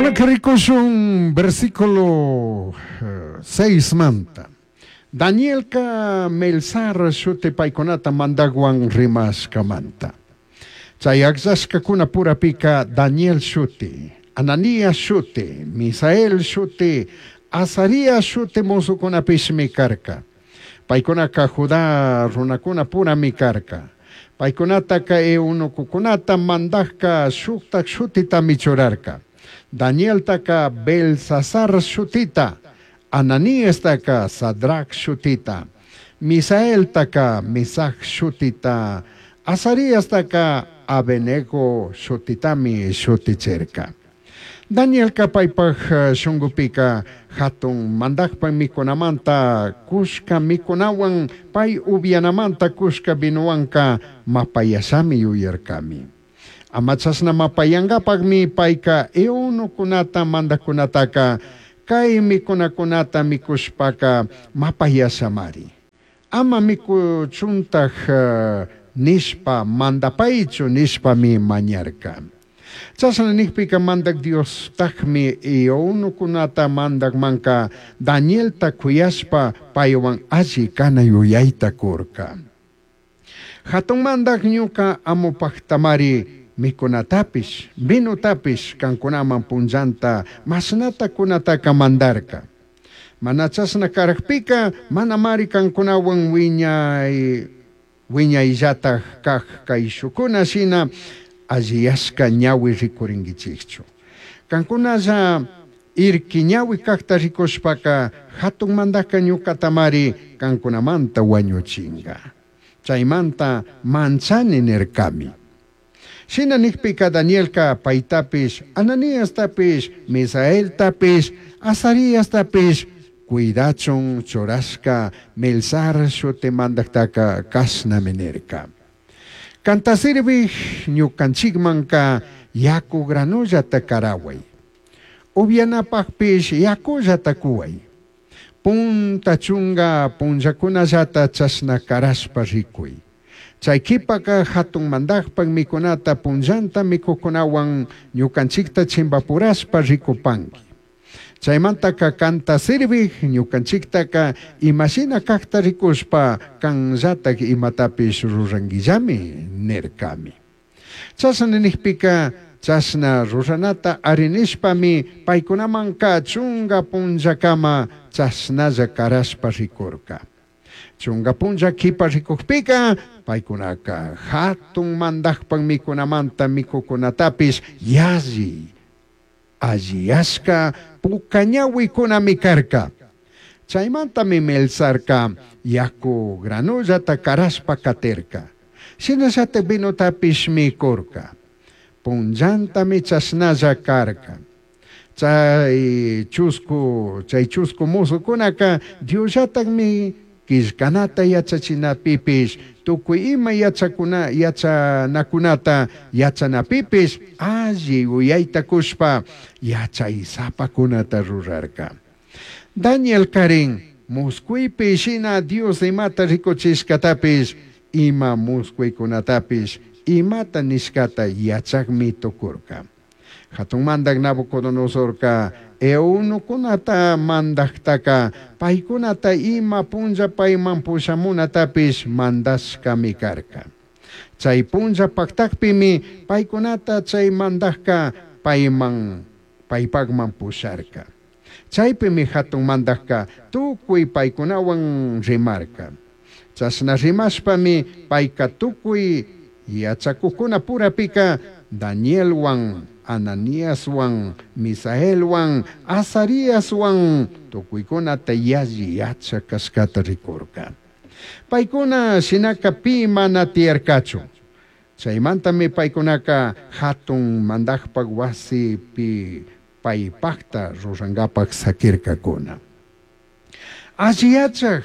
Kunanka rikushun versículo 6 manta. Danielka Melsar shuti paykunata mandakwan rimashkamanta. Chay akllashkakuna purapika Daniel shuti, Ananías shuti, Misael shuti, Azarías shuti mozokunapishmi karka. Paykunaka Judá runakuna purami karka. Paykunataka eunucokunata mandajka shuktak shutitami churarka. Danieltaka Belsasar shutita, Ananiastaka Sadrac shutita, Misaeltaka Misac shutita, Azariastaka Abednego shutitami shutichirka. Danielka paypaj shungupika hatun mandajpa mikunamanta kushka mikunawan pay upianamanta kushka vinowanka mapayashami yuyarkami. Ama chashna mapayankapakmi payka eunukunata mandajkunataka kay mikunakunata mikushpaka mapayashamari. Ama mikuchuntaj nishpa mandapaychu nishpami mañarka. Chashna nijpika mandak Diostajmi eunukunata mandakmanka Danielta kuyashpa paywan alli kana yuyayta kurka. Hatun mandak ñuka amupaktamari mikunatapish, vinotapish kankunaman punllanta mashnata kunataka mandarka. Mana chashna karakpika manamari kankunawan wiñay wiñayllataj kaj kayshukuna shina alliyashka ñawi rikurinkichikchu. Kankunalla irki ñawi kajta rikushpaka hatun mandajka ñukatamari kankunamanta wañuchinga. Chaymanta manchani nirkami. Shina nijpika Danielka paytapish, Ananiastapish, Misaeltapish, Azariastapish cuidachun churashka Melsar shuti mandaktaka kashnami nirka. Kanta sirvij ñukanchikmanka yaku granullata karaway. Upianapakpish yakullata kuway. Punta chunga punllakunallata chashna karashpa rikuy. Chay kipaka hatun mandajpak mikunata punllanta mikukunawan ñukanchikta chimpapurashpa rikupanki. Chaymantaka kanta sirvij ñukanchiktaka imashina kakta rikushpa kanllatak imatapish rurankillami nirkami. Chashna nijpika chashna ruranata arinishpami paykunamanka chunga punllakama chashnalla karashpa rikurka. Chunga punlla kipa rikukpika paykunaka hatun mandajpak mikunamanta mikukunatapish yalli alliyashka pukañawikunami karka. Chaymantami Melsarka yaku granullata karashpa katirka. Shinallatak vinotapish mikurka. Punllantami chashnalla karka. Chay chusku musukunaka Diosllatakmi killkanata yachachinapipish tukuy ima yachanakunata yachanapipish alli uyayta kushpa yachaysapakunata rurarka. Daniel karin muskuypi shina Dios imata rikuchishkatapish ima muskuykunatapish imata nishkata yachakmi tukurka. Hatun mandak Nabucodonosorka eunukunata mandaktaka paykunata ima punlla payman pushamunatapish mandashkami karka. Chay punlla paktakpimi paykunata chay mandajka payman paypakman pusharka. Chaypimi hatun mandajka tukuy paykunawan rimarka. Chashna rimashpami payka tukuy yachakukuna purapika Danielwan, Ananiaswan, Misaelwan, Azariaswan tukuykunata yalli yachak kashkata rikurka. Paykuna shinaka pi mana tiyarkachu. Chaymantami paykunaka hatun mandajpak wasipi paypakta rurankapak sakirkakuna. Alli yachak,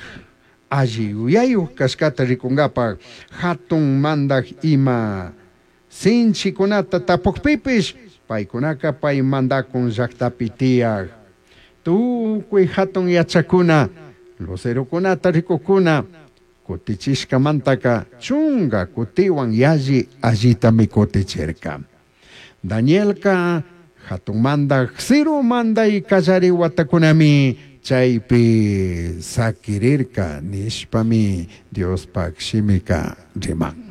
alli yuyayuk kashkata rikunkapak hatun mandak ima sinchikunata tapukpipish paykunaka pay mandakun llaktapi tiyak. Tukuy hatun yachakuna, lucerokunata rikukuna, kutichishkamantaka chunga kutiwan yalli allitami kutichirka. Danielka Jatun mandaj Ciro mandai callari huatacunami chaipi saquirirca nishpami Diospaj shimica riman.